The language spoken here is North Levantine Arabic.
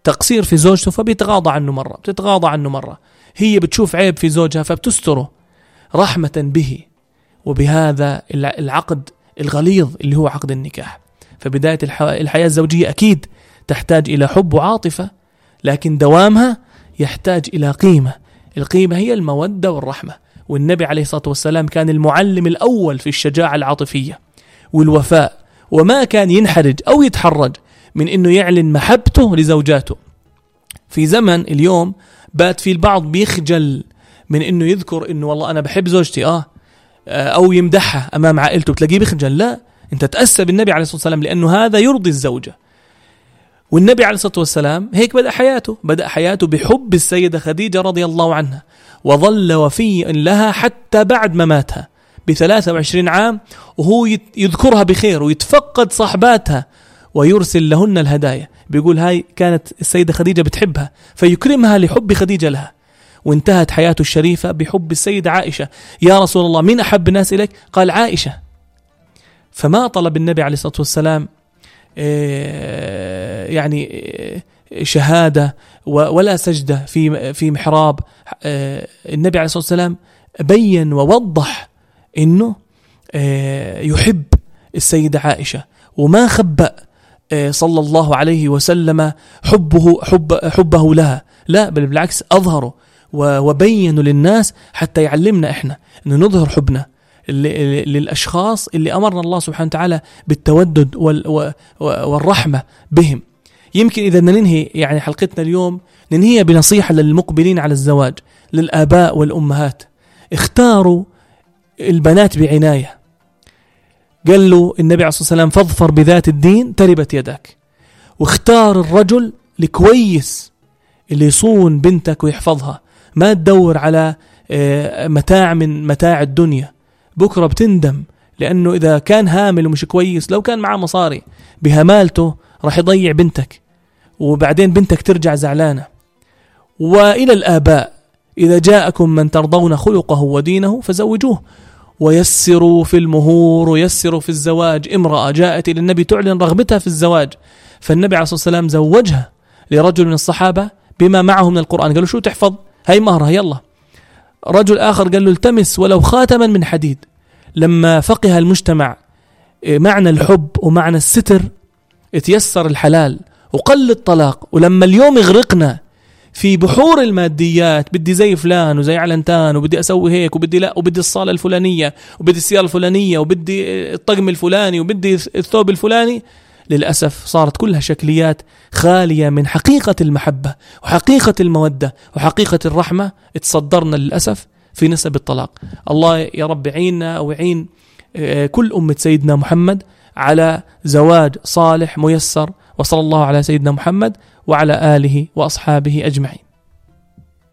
تقصير في زوجته فبيتغاضى عنه مرة، بتتغاضى عنه مرة. هي بتشوف عيب في زوجها فبتستره رحمة به وبهذا العقد الغليظ اللي هو عقد النكاح. فبداية الحياة الزوجية أكيد تحتاج إلى حب وعاطفة، لكن دوامها يحتاج إلى قيمة. القيمة هي المودة والرحمة. والنبي عليه الصلاة والسلام كان المعلم الأول في الشجاعة العاطفية والوفاء، وما كان ينحرج أو يتحرج من أنه يعلن محبته لزوجاته. في زمن اليوم بات في البعض بيخجل من أنه يذكر أنه والله أنا بحب زوجتي أو يمدحها أمام عائلته، بتلاقيه بيخجل. لا، أنت تأسى بالنبي عليه الصلاة والسلام لأنه هذا يرضي الزوجة. والنبي عليه الصلاة والسلام هيك بدأ حياته بحب السيدة خديجة رضي الله عنها، وظل وفيا لها حتى بعد ما ماتها ب23 عام، وهو يذكرها بخير ويتفقد صحباتها ويرسل لهن الهدايا. بيقول هاي كانت السيدة خديجة بتحبها فيكرمها لحب خديجة لها. وانتهت حياته الشريفة بحب السيدة عائشة. يا رسول الله مين أحب الناس إليك؟ قال عائشة. فما طلب النبي عليه الصلاة والسلام يعني شهادة ولا سجدة في محراب. النبي عليه الصلاة والسلام بين ووضح إنه يحب السيدة عائشة، وما خبأ صلى الله عليه وسلم حبه لها، لا بل بالعكس أظهره وبينوا للناس حتى يعلمنا إحنا أنه نظهر حبنا للأشخاص اللي أمرنا الله سبحانه وتعالى بالتودد والرحمة بهم. يمكن إذا ننهي يعني حلقتنا اليوم ننهيها بنصيحة للمقبلين على الزواج، للآباء والأمهات. اختاروا البنات بعناية. قال له النبي عليه الصلاة والسلام فاظفر بذات الدين تربت يدك. واختار الرجل الكويس اللي يصون بنتك ويحفظها. ما تدور على متاع من متاع الدنيا، بكرة بتندم، لأنه إذا كان هامل ومش كويس، لو كان معه مصاري بهمالته راح يضيع بنتك، وبعدين بنتك ترجع زعلانة. وإلى الآباء إذا جاءكم من ترضون خلقه ودينه فزوجوه، ويسروا في المهور ويسروا في الزواج. امرأة جاءت إلى النبي تعلن رغبتها في الزواج، فالنبي عليه الصلاة والسلام زوجها لرجل من الصحابة بما معه من القرآن. قالوا شو تحفظ؟ هاي مهرها يلا. رجل آخر قال له التمس ولو خاتما من حديد. لما فقه المجتمع معنى الحب ومعنى الستر اتيسر الحلال وقل الطلاق. ولما اليوم يغرقنا في بحور الماديات، بدي زي فلان وزي علنتان، وبدي أسوي هيك، وبدي لا، وبدي الصالة الفلانية، وبدي السيارة الفلانية، وبدي الطقم الفلاني، وبدي الثوب الفلاني، للأسف صارت كلها شكليات خالية من حقيقة المحبة وحقيقة المودة وحقيقة الرحمة. اتصدرنا للأسف في نسب الطلاق. الله يا رب يعيننا ويعين كل أمة سيدنا محمد على زواج صالح ميسر. وصلى الله على سيدنا محمد وعلى آله وأصحابه أجمعين.